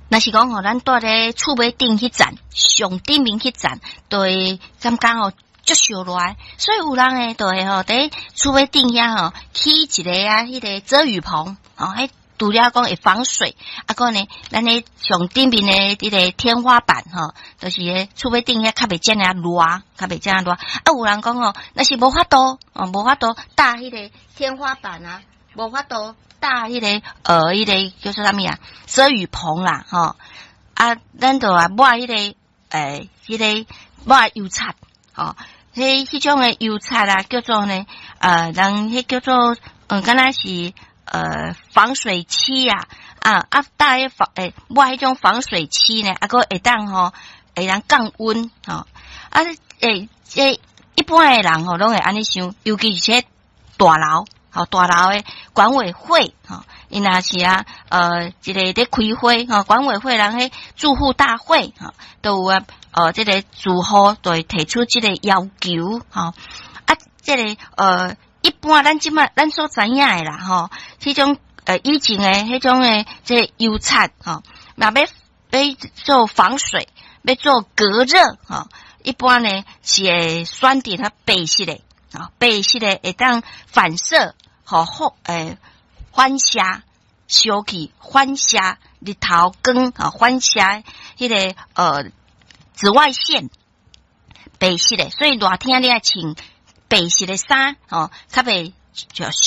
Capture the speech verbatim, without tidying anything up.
若是講吼，咱蹛咧厝尾頂彼層，上頂面彼層，就會感覺吼足燒熱，所以有人會就會吼佇厝尾頂遐吼起一个啊，彼个遮雨棚，哦，彼除了講會防水，啊閣呢，咱咧上頂面的彼个天花板吼，就是咧厝尾頂遐較袂遮爾熱，較袂遮爾熱。啊，有人講吼，若是無法度，哦，無法度搭彼个天花板啊，無法度搭彼个呃，彼个叫做啥物啊？遮雨棚啦，吼啊，咱就啊抹彼个欸，彼个抹油漆，吼，彼彼種的油漆啊，叫做呢，呃，人彼叫做，嗯，敢若是呃防水漆啊，啊啊，搭彼防欸抹彼種防水漆呢，啊閣會當吼會當降溫，吼啊欸這一般的人吼攏會按呢想，尤其是這大樓，吼大樓的管委會，吼，𪜶若是啊，呃，一个咧開會，吼，管委會人彼住戶大會，吼，都有啊，呃，這个住戶就會提出這个要求，吼，啊，這个呃，一般咱這擺咱所知影的啦，吼，彼種呃以前的彼種的這个油漆，吼，若欲欲做防水，欲做隔熱，吼，一般呢是會選擇較白色的，啊，白色的會當反射，吼，好欸反射燒氣，反射日頭光，啊，反射彼个呃紫外線，白色的，所以熱天你愛穿白色的衫，吼，較袂就